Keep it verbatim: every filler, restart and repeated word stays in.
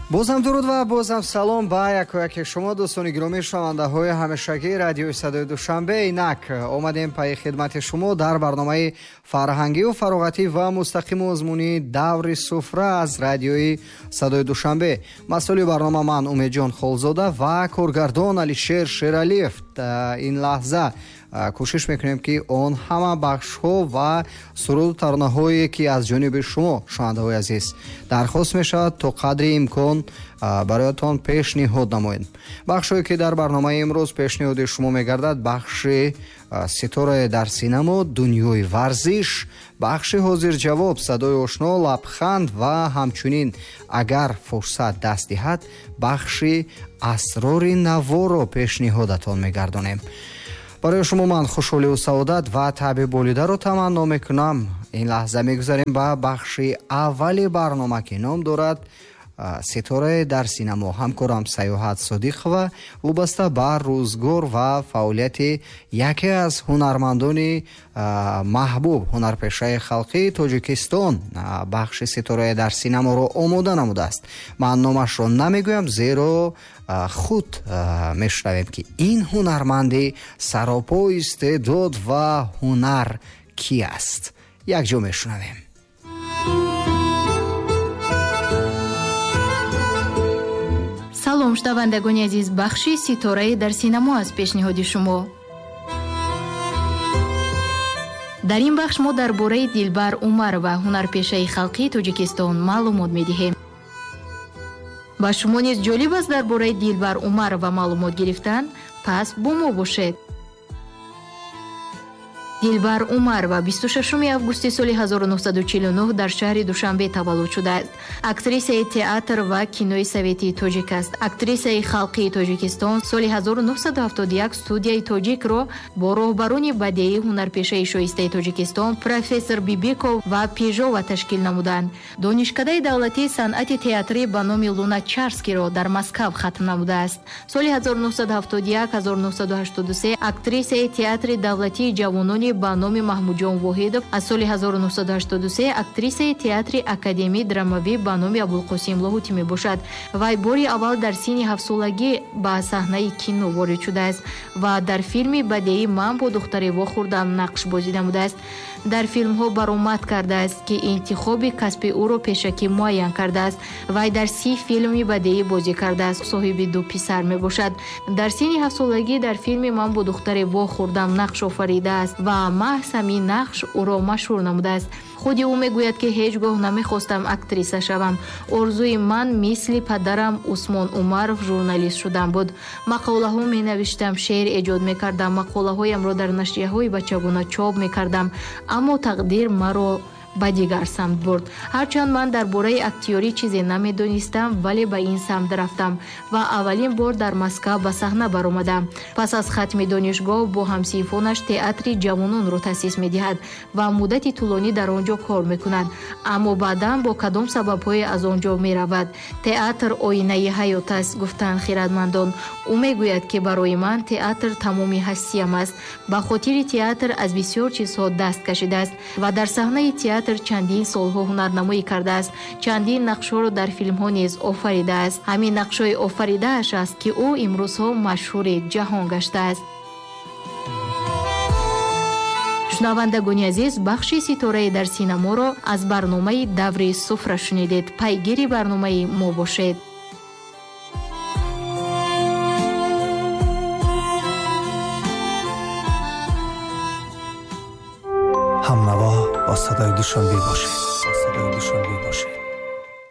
Бозам дуруд ва бозам салом ба якояки шумо дӯстони гиромӣ, шунавандаҳои ҳамешагии радиои Садои Душанбе. Инак омадем пайи хидмати шумо дар барномаи фарҳангию фароғатӣ ва мустақиму озмунии даври суфра аз радиои Садои Душанбе. Масъули барнома ман Умедҷон Холзода ва коргардон Алишер Шералиев. Ин лаҳза кӯшиш мекунем, ки он ҳама бахшҳо ва суруду таронаҳое, ки аз ҷониби шумо, шунавандаҳои азиз, дархост мешавад, то қадри имкон бароятон пешниҳод намоем. Бахшҳое, ки дар барномаи имрӯз пешниҳоди шумо мегардад, бахши ситораe дар синамо, дунёи варзиш, бахши ҳозирҷавоб, садои ошно, лабханд ва ҳамчунин, агар фурсат даст диҳад, бахши асрори наворо пешниҳодатон мегардонем. Барои шумо ман хушҳолию саодат ва таъби болидаро таманно мекунам. Ин лаҳза мегузарем ба бахши аввали барнома, ки ном дорад ситораe дар синамо. Ҳамкорам Саёҳат Содиқова вобаста ба рӯзгор ва фаъолияти яке аз ҳунармандони маҳбуб, ҳунарпешаи халқии Тоҷикистон, бахши ситораe дар синаморо омода намудааст. Ман номашро намегӯям, зеро худ мешунавем, ки ин ҳунарманди саропо истеъдод ва ҳунар ки аст. Якҷо мешунавем. Салом, шунавандагони азиз, бахши ситораи дар синамо аз пешниҳоди шумо. Дар ин бахш мо дар бораи Дилбар Умарова, ҳунарпешаи халқии Тоҷикистон, маълумот медиҳем. Ба шумо низ ҷолиб аст дар бораи Дилбар Умарова маълумот гирифтан? Пас бо мо бошед. Дилбар Умарова бисту шашуми августи соли ҳазору нӯҳсаду чилу нӯҳ дар шаҳри Душанбе таваллуд шудааст. Актрисаи театр ва кинои советии тоҷик аст. Актрисаи халқии Тоҷикистон соли ҳазору нӯҳсаду ҳафтоду як студияи тоҷикро бо роҳбарони бадеии ҳунарпешаи шоистаи Тоҷикистон профессор Бибиков ва Пежова ташкил намуданд. Донишкадаи давлатии санъати театрӣ ба номи Луначарскиро дар Москав хатм намудааст. Соли ҳазору нӯҳсаду ҳафтоду як ҳазору нӯҳсаду ҳаштоду се актрисаи театри давлатии ҷавонони ба номи Маҳмудҷон Воҳидов, аз соли ҳазору нӯҳсаду ҳаштоду се актрисаи театри академии драмавӣ ба номи Абулқосим Лоҳутӣ мебошад. Вай бори аввал дар синни ҳафтсолагӣ ба саҳнаи кино ворид шудааст ва дар филми бадеӣ «Ман бо духтаре вохӯрдам» нақш бозӣ намудааст. Дар филмҳо баромад кардааст, ки интихоби касби ӯро пешакӣ муайян кардааст. Вай дар си филми бадеӣ бозӣ кардааст, соҳиби ду писар мебошад. Дар синни ҳафтсолагӣ дар филми «Ман бо духтаре вохӯрдам» нақш офаридааст ва маҳз ҳамин нақш ӯро машҳур намудааст. Худи ӯ мегӯяд, ки ҳеҷ гоҳ намехостам актриса шавам. Орзуи ман мисли падарам Усмон Умаров журналист шудан буд. Мақолаҳо менавиштам, шеър эҷод мекардам, мақолаҳоямро дар нашрияҳои бачагона чоп мекардам, аммо тақдир маро ба дигар самт бурд. Ҳарчанд ман дар бораи актёрӣ чизе намедонистам, вале ба ин самт рафтам ва аввалин бор дар Москав ба саҳна баромадам. Пас аз хатми донишгоҳ бо ҳамсинфонаш театри ҷавононро таъсис медиҳад ва муддати тӯлонӣ дар он ҷо кор мекунад, аммо баъдан бо кадом сабабҳое аз он ҷо меравад. Театр оинаи ҳаёт аст, гуфтанд хирадмандон. Ӯ мегӯяд, ки барои ман театр тамоми ҳастиям аст. Ба хотири театр аз бисёр чизҳо даст кашидааст ва дар саҳнаи театр чандин солҳо ҳунарнамоӣ кардааст. Чандин нақшҳоро дар филмҳо низ офаридааст. Ҳамин нақшҳои офаридааш аст, ки ӯ имрӯзҳо машҳури ҷаҳон гаштааст. Шунавандагони азиз, бахши ситораи дар синаморо аз барномаи даври суфра шунидед. Пайгири барномаи мо бошед. Ҳамнаво бо садои Душанбе бошед. Бо садои Душанбе бошед.